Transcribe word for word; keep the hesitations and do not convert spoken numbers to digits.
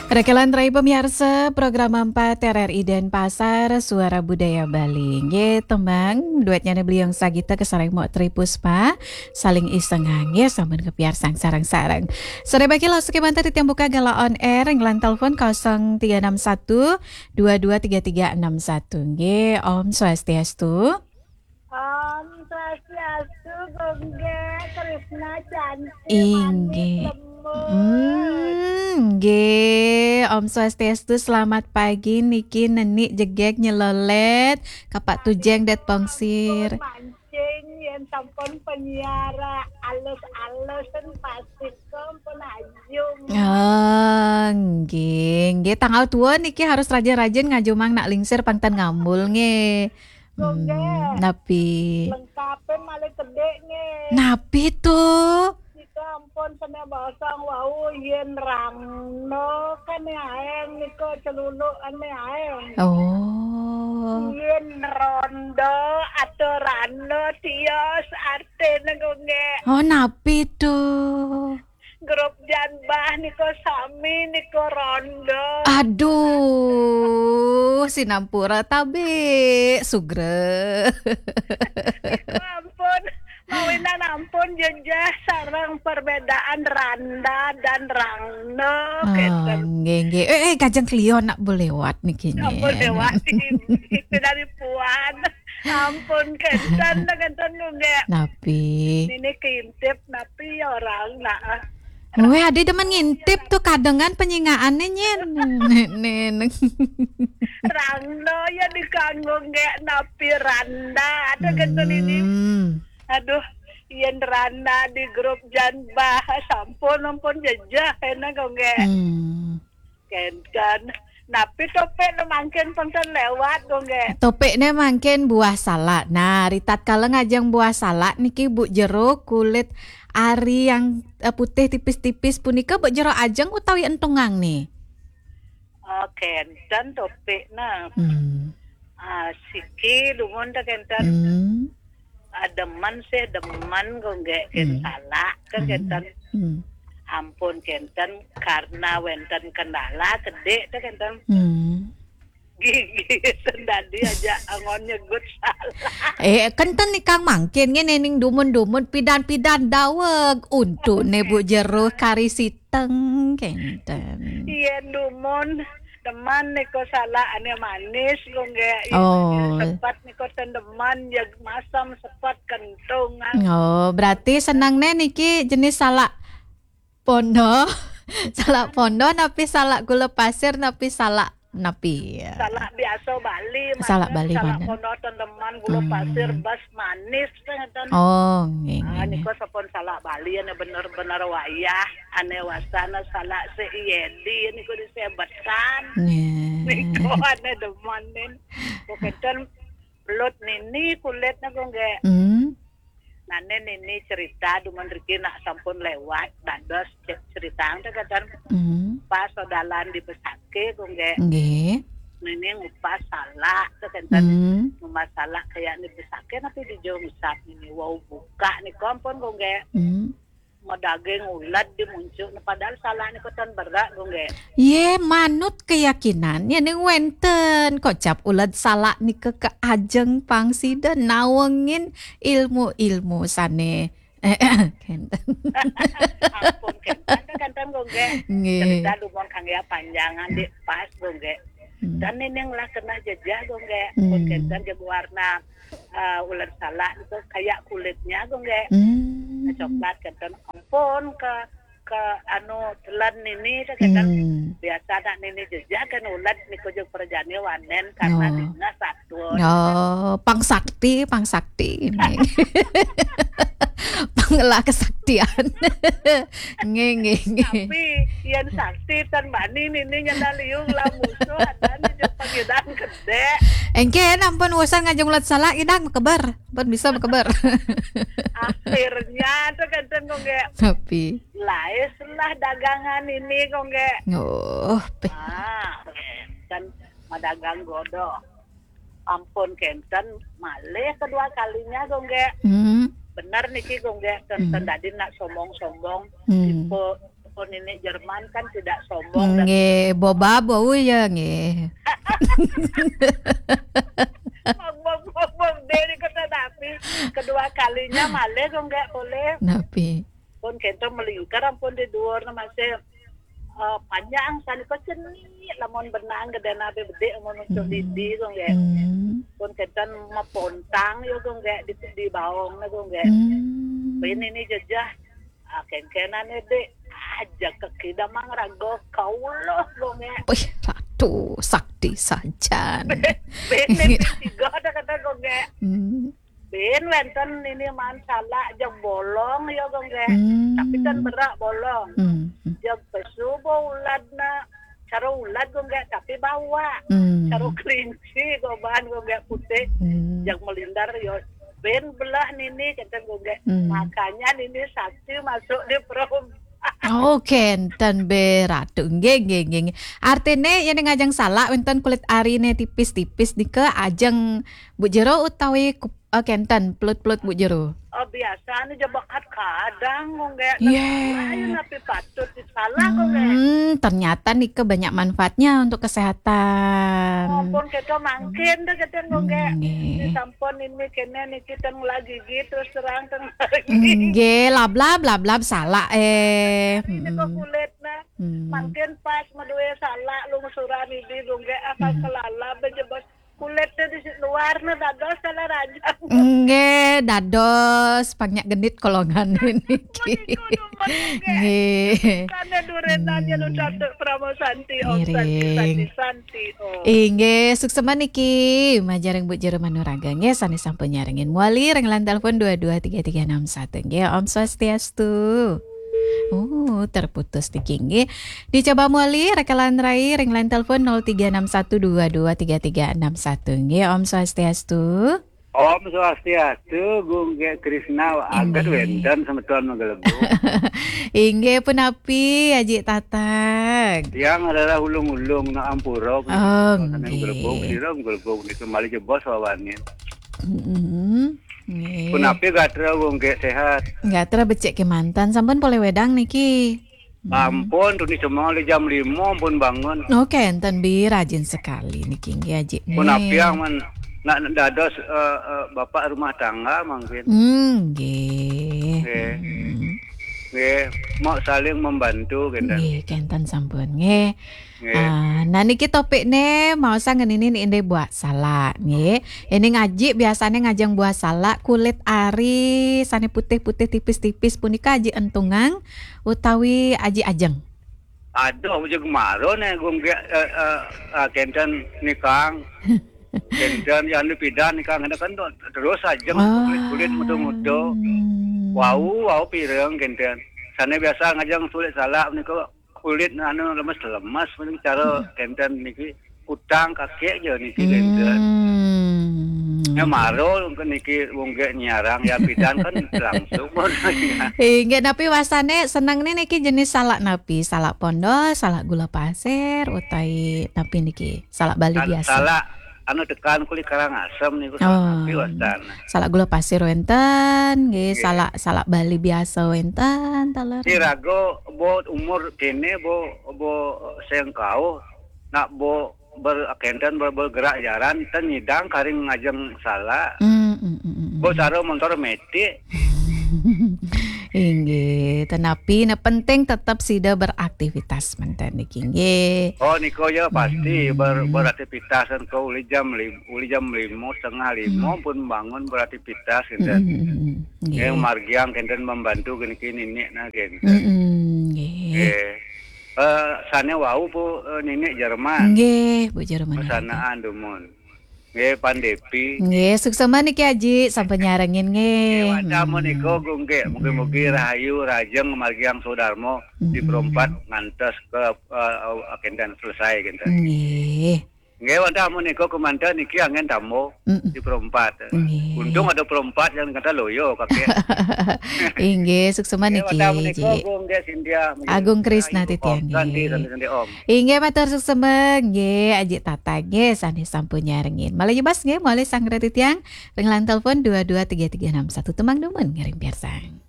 Rekelan rai pemiarsa, program empat R R I Denpasar, Suara Budaya Bali. Nggih, tembang duetnya Beliau Sagita kasareng Mok Tri Puspa, Saling Iseng. Nggih, sampun kapiarsang sareng-sareng. Sore bagi lo sekimanten titiang buka gala on air, nglan telepon kosong tiga enam satu dua dua tiga tiga enam satu. Nggih, Om Swastiastu. Om Swastiastu, Gung Gek, Krisna cantik, Inggih. Manis, lembut. Hmm, nggih. Om Swastiastu, selamat pagi niki Nenik Jegek Nyelolet, Kapak Tujeng Det Pongsir. Mancing, yen sampun penyiar, alus-alus, pasti sampun ajung. Ah, nggih, nggih. Tanggal tua niki harus rajin-rajin ngajumang nak lingsir pang ten ngambul, nggih. Gung Gek. Hmm, napi? Lengkapin malih kedek, nggih. Napi tuh? Kita ampun kena basang wau yen rangno kan aeng nika celuluk ane aeng. Oh. Yen rondo atau rando tios artine, Gung Gek. Oh, napi tuh? Grup Janbah nika sami nika rondo. Aduh, sinampura tabe, sugra. Nika ampun, mawinan ampun jejeh sareng perbedaan randa dan rangno, oh, kenten. Nggih, nggih. Eh, eh, kajeng Cleo nak boleh lewat niki, ampun, nggih. Lewat iki dari puan. Ampun, kenten, kenten, Gung Gek. Napi? Ini keintip, napi ya orang, nah. Weh, ade demen ngintip tuh kadengan penyingaane nyen. Nen. Rangno ya dikanggo nggek napi randa. Ada kenten ini. Hmm. Aduh, yen randa di grup Janbah, sampun, ampun jejeh, enak, Gung Gek. Hmm. Kenten. Napi topik ne mangkin penten lewat, Gung Gek? Topiknya mangkin buah salak. Nah, ritatkala ngajeng buah salak niki, Bu, jeruk, kulit ari yang, eh, putih tipis-tipis punika, Bu, jeruk ajeng utawi entungang nih? Oh, kenten topiknya. Hmm. Ah, siki dumun ta kenten. Hmm. Ah, demen sih, demen, Gung Gek, ken, hmm, salak, kan, hmm, kenten. Hmm. Ampun kenten, karena wenten kendala kedek ta kenten. Hmm. Gigi sendadi aja angon nyegut salak. Eh, kenten nih kang mangkin ngene ning dumun-dumun pidan-pidan daweg. Untuk ne, Bu, jeruk kari siteng kenten. Iya, dumun. Teman niko salak ane manis, Gung Gek. Oh. Sepat niko tendeman, ya masam sepat kentungan. Oh, berarti senang ne niki jenis salak pondo. Salak pondo napi salak gula pasir napi salak napi? Salak biasa Bali, salak Bali, salak pondo tendeman gula, hmm, pasir, bas manis, ngeten. Oh, nggih, ah, nggih, nggih. Nika sampun salak Bali ane bener-bener wayah, ane wasana salak se Yedi niku disebetan. Nggih. Nika ane demenin. Pokoknya belut nini kulitnya, Gung Gek. Hmm. Nane nini cerita dumun riki nak sampun lewat dados ce-, cerita ngeten. Hmm. Pas sodalan di Besake, Gung Gek. Nggih. Nini ngupas salak, kenten. Hmm. Ngupas salak kayak di Besake, tapi di Jongsak nini wau buka nika ampun, Gung Gek. Hmm. Medaging uled di muncuk, padahal salak nika ten berak, Gung Gek. Ye, manut keyakinan, ya ning wenten kocap uled salak nika ke ajeng pangsida nawengin ilmu-ilmu sane. Kenten. Ampun, kenten, kenten, Gung Gek. Nggih. Cerita dumun kang ya panjangan di pas, Gung Gek. Hmm. Dan nining lah kena jejeh, Gung Gek. Pun, hmm, kenten jeg warna, eh, uled salak itu kayak kulitnya, Gung Gek. Hmm. Coklat, kenten. Ampun ke, ke anu telan nini, kenten. Hmm. Biasa nak nini jejeh kan uled niku jeg perjani wanen karena, oh, dina satwa. Oh, pang sakti, pang sakti ini. Pangela kesaktian. Nggih, nggih, nggih. Tapi yen sakti ten bani nini nyandal liung lah musuh ada nih jeung pangidang gede. Engke ampun usan ngajeng ulat salak idang mekeber. Ampun bisa mekeber. Akhirnya tuh kenten, Gung Gek. Tapi. Laes lah dagangan ini, Gung Gek. Oh, pe. Ah, kan madagang godok. Ampun kenten, malih kedua kalinya, Gung Gek. Hmm. Bener niki, Gung Gek, kenten, hmm, dadi nak sombong-sombong, hmm, tipe Pun ini Jerman kan tidak sombong dan nggih, boba bau ya nggih. Boba-boba deh, kata tapi kedua kalinya malih kok nggak boleh. Napi? Pun kento melingkar ampun di dhuwur masih, eh, panjang sani kok cenik lamun benang gedena be bedik amun muncul didi kok nggak. Hmm. Pun kenten mepontang yo kok nggak di, di baong kok nggak. Hmm. Pun ini jejah, ah, kenkenane dek aja kekida mang rago kaulo kok nggak. Wih, ratu sakti sajan. Bene tiga ada kata kok nggak. Hmm. Ben wenten ini man salak jeg bolong ya kok nggih. Hmm. Tapi kan berak bolong. Hmm. Jeg pesu bo uladna, cara ulad kok nggih tapi bawa. Hmm. Cara kelinci kok bahan kok nggih putih. Hmm. Jeg melindar ya ben belah nini kata kok nggih. Hmm. Makanya nini sakti masuk di perut. Oh, kenten be ratu. Nggih, nggih, nggih, nggih. Artine yen ngajeng salak wenten kulit arine tipis-tipis nika ajeng Bu Jero utawi kup-, eh, kenten pelut-pelut Bu Jero. Oh, biasane jebakat kadang kok nggak. Iya. Lain tapi patut disalah kok nggak. Hmm, ternyata nika banyak manfaatnya untuk kesehatan. Ampun kita mangkin deh kita kok nggak. Nggih. Di sampun ini kene niki teng lagi gitu terus terang teng lagi. Nggih, lablab, lablab salak eh. Ini kok Hmm. Kulit nah. Hmm. Mangkin pas medue salak lungsuran ini kok nggak apa Hmm. Kelalab aja bos. Kulit tuh di luar nah dados salah raja. Nggih, dados pangnya genit kolongan niki. Nggih. Karena duren aja lu Hmm. Cantik Pramosanti, Om Santi, Ngiring. Santi, Santi, Om. Inggih, suksema niki. Majareng Bu Jero Manuraga nggih, sane sampun nyarengin. Muali renglan telepon dua dua tiga tiga enam satu nggih. Om Swastiastu. Oh, terputus niki nggih. Dicoba muali rekalan rai renglan telepon nol tiga enam satu dua dua tiga tiga enam satu nggih. Om Swastiastu. Om Swastiastu, Gung Gek Krisna, aget Inggih. Wenten semeton menggelebuk. Inggih punapi, Aji Tatag. Yang adalah ulung-ulung nak ampura, Oh, sana nggih. Menggelebuk, sira menggelebuk, itu malih jebos wawane. Mm-mm. Nggih. Punapi gatra, Gung Gek sehat? Gatra becik kemanten, sampun polih wedang niki. Hmm. Ampun, tuni semua oleh jam lima pun bangun. Oke, enten bi rajin sekali niki nggih, Aji. Pun Nih. Apiang man, nak dados, eh, eh, bapak rumah tangga mungkin. Hmm, nggih. Nggih. Hmm. Nggih, mau saling membantu, kenten. Nggih, kenten sampun, nggih. Nggih. Ah, nah niki topik ne mau sang ngenini ni ende buah salak, nggih. Ini ngaji biasane ngajeng buah salak kulit ari sane putih-putih tipis-tipis punika Aji entungang utawi Aji ajeng? Aduh, aku juga maru nih, Gung Gek, eh, eh, eh, kenten nikang. Kenten yang dipidan nikang, ada kan tuh, terus ajeng Oh. Kulit-kulit muda-muda. Wau, wau pireng kenten. Sana biasa ngajeng sulit salak nih kok kulit anu lemes-lemes, mending cara Hmm. Kenten niki utang kakek aja niki kenten. Hmm. Ya maru ke niki wong gek nyarang ya pidan kan langsung. Inggih, napi wasane seneng nih niki jenis salak napi? Salak pondol, salak gula pasir, utai napi niki? Salak Bali Sal-, biasa. Salak anu tekan kulit Karangasem niku Oh. Salak napi wastan. Salak gula pasir wenten, nggih, nggih. Salak, salak Bali biasa wenten, taler. Irago bo umur kene bo, bo sengkau, nak bo ber-, kenten ber-, bergerak jalan, ten nyidang karing ngajeng salak. Hmm, hmm, hmm, hmm, hmm. Bo cara montor metik. Inggih, tenapi ne penting tetap sida beraktivitas menten niki nggih. Oh, niko ya pasti ber-, Hmm. Beraktivitas kan ko uli jam lim-, uli jam lima, setengah lima Hmm. Pun bangun beraktivitas kenten. Hmm, hmm, hmm, hmm. Nggih. Yang margiang kenten membantu kene-kene ninik nah kenten. Hmm, hmm, nggih. Nggih. Eh, sane wau Bu, eh, ninik Jerman. Nggih, Bu Jerman. Pesanaan dumun. Nggih, Pandepi. Nggih, suksema niki Aji, sampun nyarengin nggih. Nggih, wantah Hmm. Menika Gung nggih, mugi-mugi Hmm. Rahayu, Rajeng, Margiang Sodarmo di Hmm. Perempat ngantos ke, eh, kenten selesai kenten. Nggih. Nggih, wantah menika kemanten niki angin tambo Hmm. Di Perempat. Nggih. Untung ada Perempat yang kata loyo kakek. Inggih, suksema nggih, niki, wantah menika Ji. Gung nggih Sintia, nggih. Agung Krisna Rahayu, Titiang, Om. Santi, nggih. Santi, Santi, Om. Inggih, matur suksema nggih, Aji Tata nggih, sane sampun nyarengin. Malih jebos nggih, malih sanggra titiang, ring line telepon dua dua tiga tiga enam satu, tembang dumun ngiring piarsang.